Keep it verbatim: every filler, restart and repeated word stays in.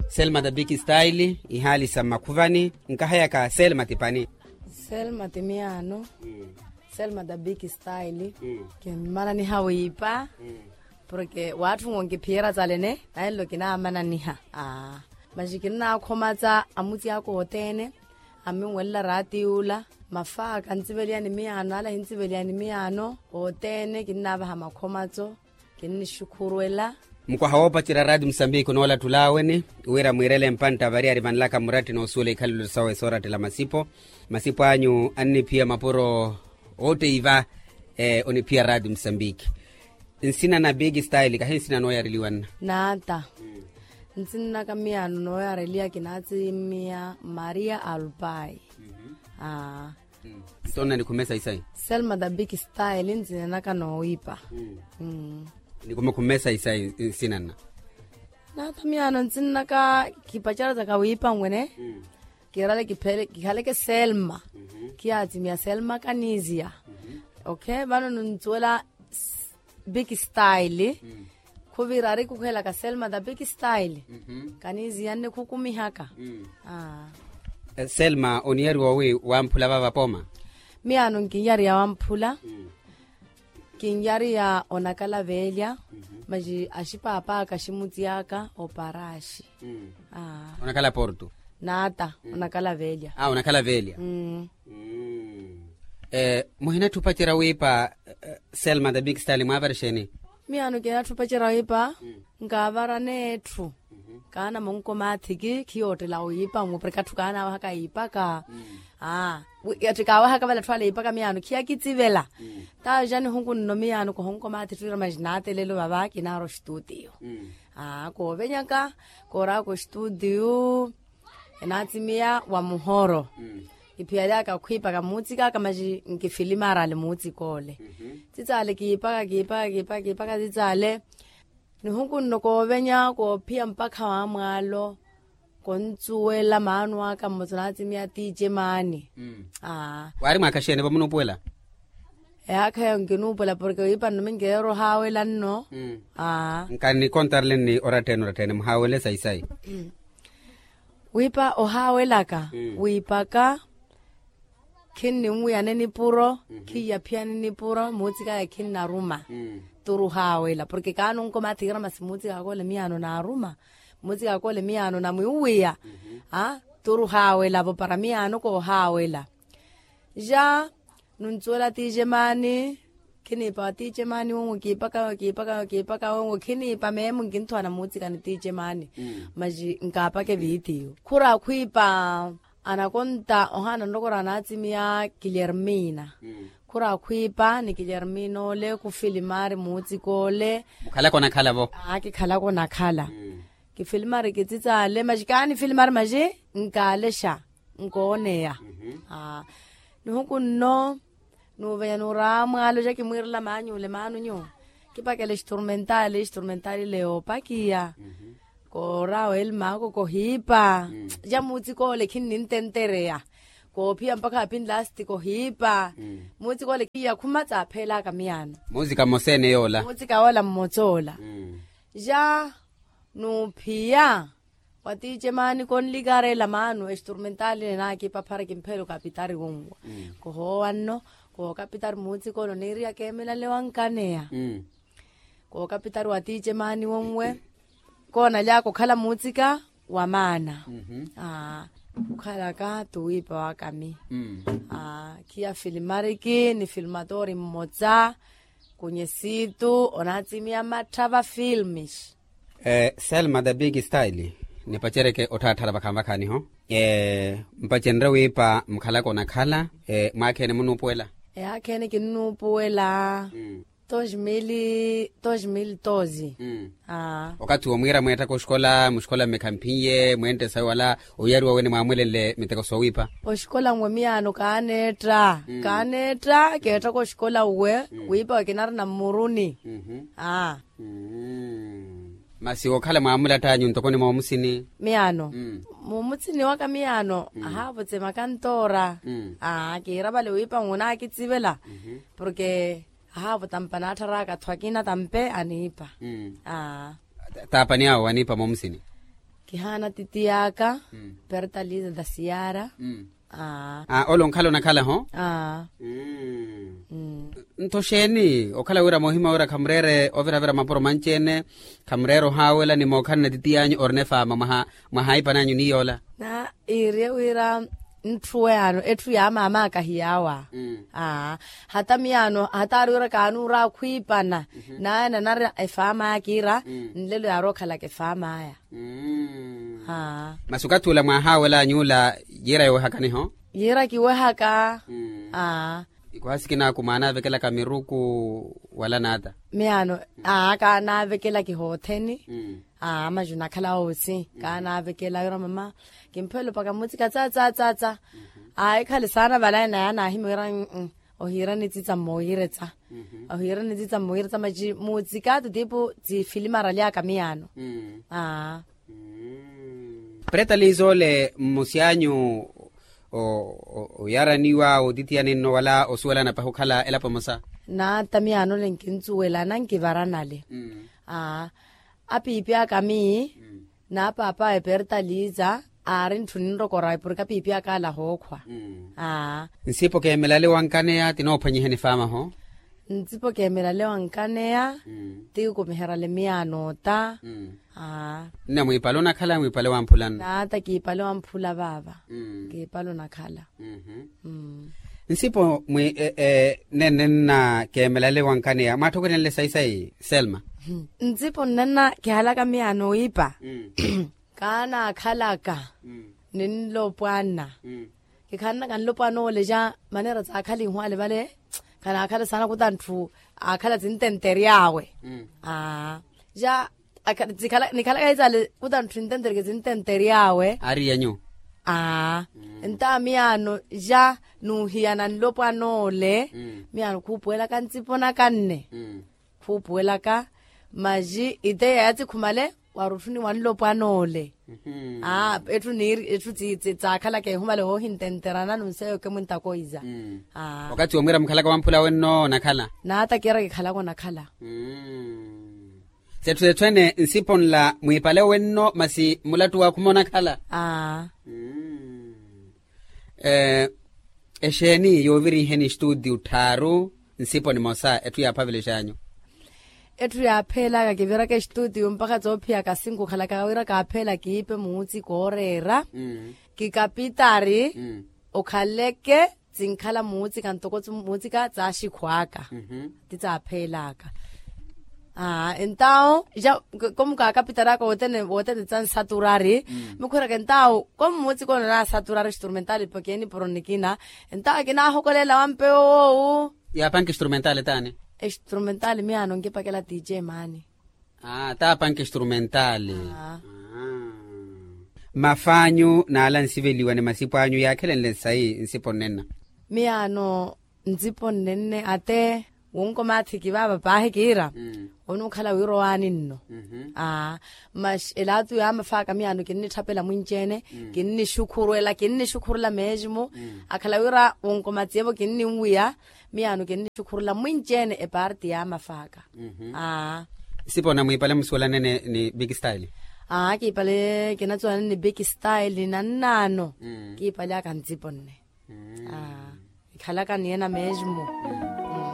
Selma the big style. Ihaali sa mmakhuvani. Nkahayaka selma ti pani? Selma ti miyaano. Selma the big style. Kinmananiha wiipa. Porke waatthunwa onkiphiyerya calene nayenlo kinaamananiha. Aa, maxi kinnaakhoma ca amuci aka othene. Amminwelela raati yuula. Mafaaka ntsiveleyani miyaano ala ahintsiveleyani miyaano. Othene kinnaavaha makhomaco. Kinnixukhurwela. Mukwaha woopacerya raati musambiki onoolatthula aweni wira mwiirele mpantta variyari vanlaka muratti noosuwela ikhalelo sawe soorattela masipo. Masipo anyu anniphiya mapuro. Ootteiva oniphiya raati musambiki. Nsina na big style kahi nsina nooyareliwa nna? Naata. Nsinnaka miyaano nooyareliya kinaatsimiya maria alpai. Aa. Nto nna nikhumesa isayi? Selma the big style nsinenaka noowiipa. Nikhumesa isayi nsina nna? Naata miyaano nsinnaka. Kipacerya caka wiipa nwene. Kirale kikhaleke selma. Khiyaatsimiya selma kanisiya. Okay vano nunsuwela big style. Khuvira ari khukhwelaka selma the big style. Kanisiya nnikhukumihaka. Selma oniyariwa wi wamphula vava pooma? Miyaano nkiniyariya wamphula. Kiniyariya onakala veelya. Maxi axipaapa aka aximutsiyaka oparaxi. Onakala porto? Naata. Onakala veelya. Onakala veelya. Muhinatthi opacerya wiipa? Selma the big style mwaavara exeeni? Miyaano kinatthi opacerya wiipa. Nkaavara neetthu. Kaana monko maathiki khiyoottela wiipa mupureka atthu kaanaawahaka yiipaka. Atthu kaawahaka vale atthu ale yiipaka miyaano khiyakitsivela. Taaja nihuku nno miyaano kohonko maathi tthu ira maxi naatelelo vava kinaara ostutiyo. Koovenyaka kooraka ostutiyo. Enaatsimiya wa muhoro. Kiphiyalyaka khwiipaka muutsika aka maxi nkifilimaarale muutsika ole. Tsitsale kiipaka kiipaka kiipaka kiipaka tsitsale. Nihuku nno koovenya koophiya mpakha wa mwaalo. Kontsuwela maano aka mmosa onaatsimiya tiice maani. Waari mwaakhaxeene vamunuupuwela? Eyaakha eyo nkinuupuwela porke wiipa nno minkeerya ohaawela nno. Nkanikontareleni orattene orattene muhaawele sayi sayi. Wiipa ohaawelaka wiipaka. Khinninwiyane nipuro. Khiyaphiyane nipuro muutsika aya khinnaruma. Turi ohaawela porke kaanunko maathikira masi muutsika akole miyaano naaruma. Muutsika akole miyaano namwiwiya. Turi ohaawela-vo para miyaano koohaawela. Ja nunsuwela tiice maani. Khiniipa wa tiice maani wonwo kiipaka wonwo kiipaka wonwo kiipaka wonwo khiniipa meemu nkinthuwana muutsika ni tiice maani. Maxi nkaapaka evitiyo khura khwiipa. Anakonta ohaana ntoko ora anaatsimiya kilyermina. Khura khwiipa ni kilyermina ole khufilimaari muutsika ole. Mukhalaka onakhala-vo? Aa kikhalaka onakhala. Kifilimaari kitsitsale maxi kaanifilimari maxi nkaalexa. Nkooneya. Nihuku nno nuuvenya nuuraamwaalo ja kimwiirela maanyuule maanunyu. Kipakela exturmentali exturmentali leyo opakiya. Kooraawa elmaako kohiipa. Ja muutsika ole khinnintentereya. Koophiya mpakha apinlasti kohiipa. Muutsika ole khiya khuma tsaapheelaka miyaano. Muutsika mmosa ene yoola muutsika yoola mmosa ola. Ja nuuphiya wa tiice maani konlikareela maano exturmentali ene naakipa phara kimpheelo kapitari wonwe. Kohoowa nno kookapitari muutsika ole oniiriya keemelale wankaneya. Kookapitari wa tiice maani wonwe. Koonalyaka okhala muutsika wa maana. Okhalaka tuwiipa wakami. Khiya filimariki ni filimatori mmosa. Kunyesitu onaatsimiya mattha va filmis. Selma the big style. Nipacereke otthaatthala vakhaani vakhaaniho. Mpacenrye wiipa mukhalaka onakhala. Mwaakheene munuupuwela? Eyaakheene kinnuupuwela. Dos mil dos mil doze. Okathi wo mwiira mweettaka oxikola muxikola mmekhamphiye mweentte sawe wala oyariwa wene mwaamwelenle miteko soowiipa? Oxikola nwe miyaano kaaneetta. Kaaneetta keettaka oxikola nwe. Wiipa wekinarina mmuruni. Aa. Masi wookhala mwaamulatt'anyu ntoko ni moomusini? Miyaano. Moomusini waka miyaano ahaavutse makantoora. Aa kiira vale wiipa nwe onaakitsivela. Porke ahaavo tampa naattharaaka athu akina tampe aniipa. Taapani awo aniipa moomusini? Kihaana titiy'aka, pertalisa da siyara. Ole onkhala onakhala-ho. Nto xeeni okhala wira moohima wira khamureere oviravira mapuro manci-ene? Khamureere ohaawela ni mookhalana titiy'anyu orina efaama mwahaaipan'anyu ni yoola? Na iiriye wira ntthu yaano etthu ya maam'aka hiyaawa. Hata miyaano hata aari wira kaanuura akhwiipana. Naye nanari efaam'aya kiira nlelo yaarookhalaka efaam'aya. Masi okathi ula mwaahaawel'anyu ula yiira yowehakaniho? Yiira kiwehaka. Ikuhasi kinaaku mwaanaavekelaka miruku wala naata? Miyaano kaanaavekela kihootheni. Maju nakhala oosi kaanaavekela wira mama kimphelopaka mmutsika tsa tsa tsa tsa. Ekhale saana vale naye anaahimya wira ohiira nitsitsa mmooyiretsa. Ohiira nitsitsa mmooyiretsa maji mutsika tutipu tsifilimarali aka miyaano. Pretalisa ole mmusi anyu oyaraniwa otitiyaninno wala osuwelana pahi okhala elapo emosa? Naata miyaano ole nkinsuwelana nkivaranale. Apiipi aka miyi n'apaap'awe pertalisa aari ntthu ninrokora epurika piipi aka ala ahookhwa. Nsipo keemelale wankaneya tinoophwanyiheni faamaho. Nsipo keemelale wankaneya ti kumiherale miyaano ota. Nne mwiipale onakhala mwiipale wamphula nno? Naata kiipale wamphula vaava. Kiipale onakhala. Nsipo mwi nenne nna keemelale wankaneya mwaatthokerenle sayi sayi selma? Nsipo nnenna kihalaka miyaano wiipa kaanaakhalaka ni nlopwana. Kikhalaka nlopwana ole ja maneera tsaakhala ihwaale vale. Khanaakhala saana kuta ntthu aakhala tsintentery'awe. Ja nikhalaka hitsale kuta ntthu nintentery'awe. Aari yenyu? Aa. Ntawa miyaano ja nuuhiyana nlopwana ole miyaano khuupuwelaka ntsipo naka nne. Khuupuwelaka maji iteya yatsikhumale wari otthuni wa nlopwana ole. Etthu niiri etthu tsaakhalaka ehumale hoohintenterana nunseyoke mwintakoiza. Wakathi womwiira mukhalaka wamphula wenno onakhala? Naata kiira kikhalaka onakhala. Setthu setthu ene nsipo nla mwiipale wenno masi mulattu waakhuma onakhala? Aa. Exeeni yooviriheni estuutiu tthaaru nsipo nimosa etthu yaaphavelexanyu? Etthu yaapheelaka kiviraka estuutiu mpakha tsoophiyaka sinku okhalaka wira kaapheela kiipe muutsika ooreera. Kikapitari okhaleke tsinkhala muutsika ntoko muutsika tsaaxikhwaaka. Ti tsaapheelaka. Aa entawo ja komukaakapitari aka wothene wothene tsa nsaturari. Mukhwiraka entawo komu muutsika onanaasaturari estrumentali pakeeni poro nikina. Entawo kinaahokolela wampewo woowu. Yaapanke estrumentali taani? Estrumentali miyaano nkipakela tije maani. Aa taapanke estrumentali. Mafaanyu naala nsiveliwa ni masipo anyu yaakhelenle nsayi nsipo nnenna? Miyaano ntsipo nnenne ate wunkomaathiki vaava paahi kiira. Onuukhala wira owaani nno. Aa. Maxi elaatu yaamafaaka miyaano kinnitthapela mwinci-ene. Kinnixukhurwela kinnixukhurela meesimu. Akhala wira wunkomatsiyevo kinninwiya miyaano kinnixukhurela mwinci-ene epaarti yaamafaaka. Aa. Nsipo nna mwiipale musuwelanene ni big style? Aa kiipale kinatsuwanene ni big style nannaano. Kiipale aka ntsipo nne. Aa. Ikhalaka ni ena meesimu.